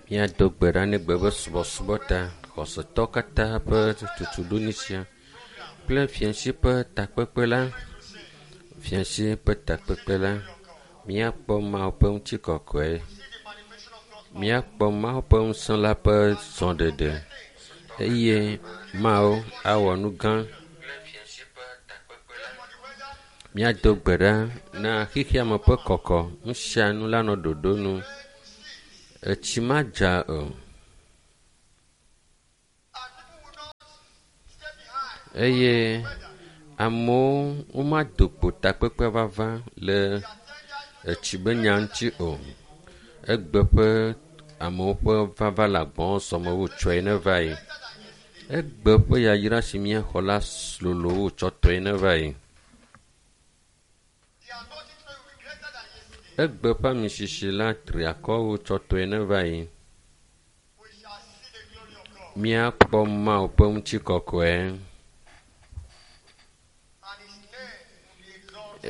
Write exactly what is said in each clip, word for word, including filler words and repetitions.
Míado gbe ɖa ne gbe be subɔsubɔ ta, xɔsetɔ katã ƒe tutuɖo sia kple fiasi ƒe takpekpe la, fiasi ƒe takpekpe la, míakpɔ Mawu ƒe ŋutikɔkɔe, míakpɔ Mawu ƒe ŋusẽ la ƒe zɔɖeɖe eye Mawu awɔ nu gã. Míado gbe ɖa na xexeame ƒe kɔkɔ, nu sia nu la nɔ ɖoɖo nu. Etsi madza o. Eye amewo womado kpo takpekpe vava le etsi be nya ŋuti o. Egbe ƒe amewo ƒe vava le agbɔsɔsɔme wu tsɔe ne va yi. Egbe ƒe yayra si míaxɔ la lolo wu tsɔtɔe ne va yi. Egbe ƒe amisisi la tri akɔ wu tsɔtɔe ne va yi. Míakpɔ Mawu ƒe ŋutikɔkɔe.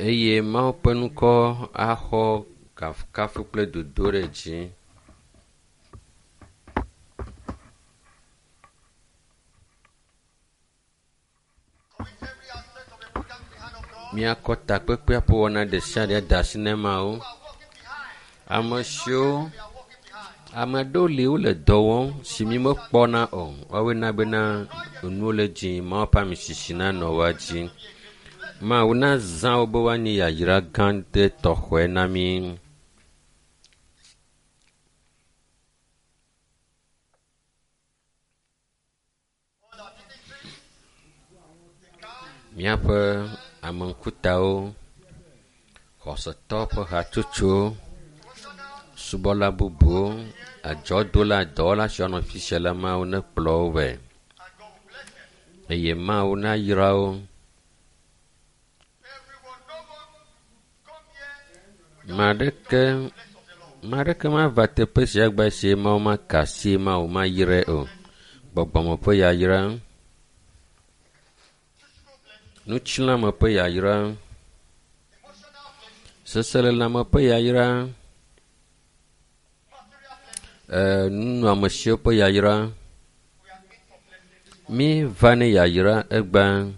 Eye Mawu ƒe ŋkɔ axɔ kafukafu kple dodoɖedzi. Míakɔ takpekpea ƒe wɔna ɖe sia ɖe da asi na Mawu. Ame siwo ame aɖewo li wole dɔ wɔm si mi mekpɔna o. Woawoe na bena enuwo le dzi Mawu ƒe amisisi nanɔ woa dzi. Mawu nazã wo be woanye yayra gã ɖe tɔxɔe na mí. Míaƒe ameŋkutawo, xɔsetɔ ƒe hatsotsowo, subɔla bubuwo, adzɔdola, dɔwɔla siwo nɔ fi sia la, Mawu nekplɔ wo vɛ. Eye Mawu nayra wo. Ame aɖeke ame aɖeke mava teƒe sia gba esi Mawu maka asi Mawu mayrae o. Gbɔgbɔme ƒe yayra, ŋutilãme ƒe yayra, seselelãme ƒe yayra, ee nunɔamesiwo ƒe yayra. Míva ne yayra egbea.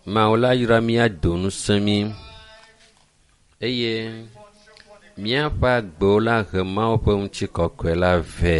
Mawu la yra mí ado ŋusẽ mí eye míaƒe agbewo la he Mawu ƒe ŋutikɔkɔe la vɛ.